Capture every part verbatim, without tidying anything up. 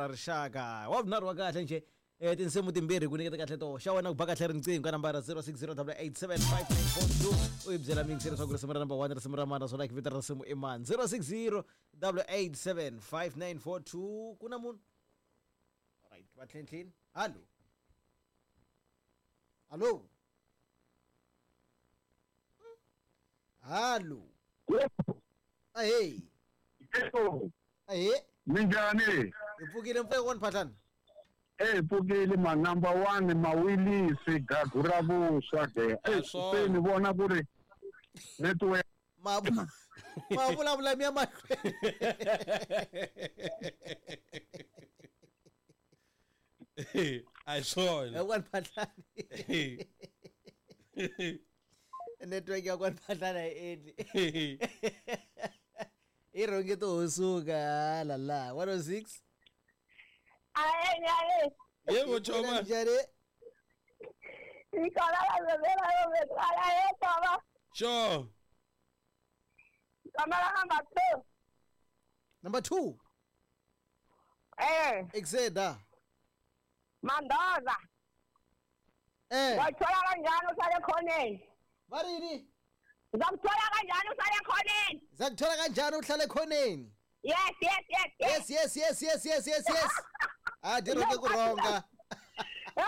ra rixaka wa vunharhu wa kahle nje eh tinsimu timbirhi ku nyiketa kahle to xa wena ku ba kahle riqingho ka nambara zero six zero double eight seven five nine four two u yi byela mixer leswaku risimu ra number one risimu ra mani naswona vito ra risimu i mani zero six zero double eight seven five nine four two ku na munhu right va tlhentlheni hallo hallo hallo ahey ahey minjhani hi pfukile mpfeko wani phatlana Eh pfukile ma number one mawilisi gagu ra vuswa ke eh se ni vona ku ri network ma ma vulavula mi ya mahlweni a hi swona ya kwani phatlani network ya kwani phatlani a yi endli i rhonge to ho suka la la one oh six Aye, aye. Yebo choma. Njani? Nicola la la la Sure. Kamera number two. Number two. Eh. Exeda. Mandoza. Eh. Wathola kanjani uhlale khoneni? Barini? Ngizakuthola kanjani uhlale khoneni? Ngizakuthola kanjani uhlale khoneni? Yes, yes, yes, yes. Yes, yes, yes, yes, yes, yes. Ah, di rhonge ku rhonga. Oh,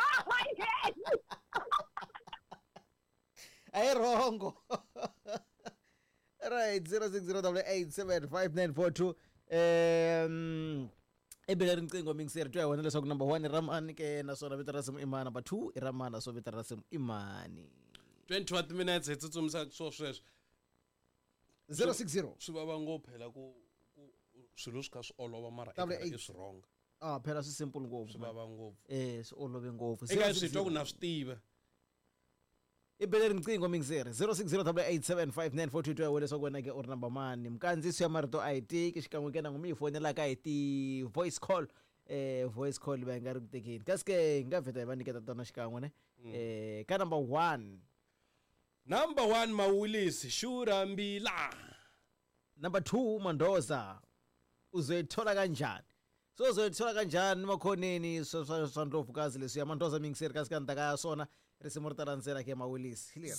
yes. A hi rhongo. Right, zero six zero double eight seven five nine four two. Um i bele riqingho mingiseri twa hi wena leswaku number one i ra mani ke naswona vito ra risimu i mani number two i ra mani naswona vito ra risimu i mani twenty-one minutes hi tsutsumisa swo sweswo zero six zero swi vava ngopfu phela ku ku swilo swi kha swi olova mara i swi wrong ah phela swi simple ngopfu swi vava ngopfu eh swi olove ngopfu eka swi twa ku na swi tiva i bele riqingho mingiseri zero six zero double eight seven five nine four two two wena leswaku wena ke u ri number mani mikandziyiso ya marito a yi tiki xikan'we ke na n'wi mi yi fonelaka hi ti voice call eh voice call va nga ri ku tekeni kasi ke hi nga vheta hi va nyiketa tona xikan'we ne eh ka number one number one Mawilisi Shurambila number two Mandoza uzoyithola kanjani so uzoyithola kanjani makhoneni swa swa swa ndlovukazi leswi ya Mandoza mingiseri kasi ka ndaka ya swona risimu ri ta landzela ke Mawilisi hi leri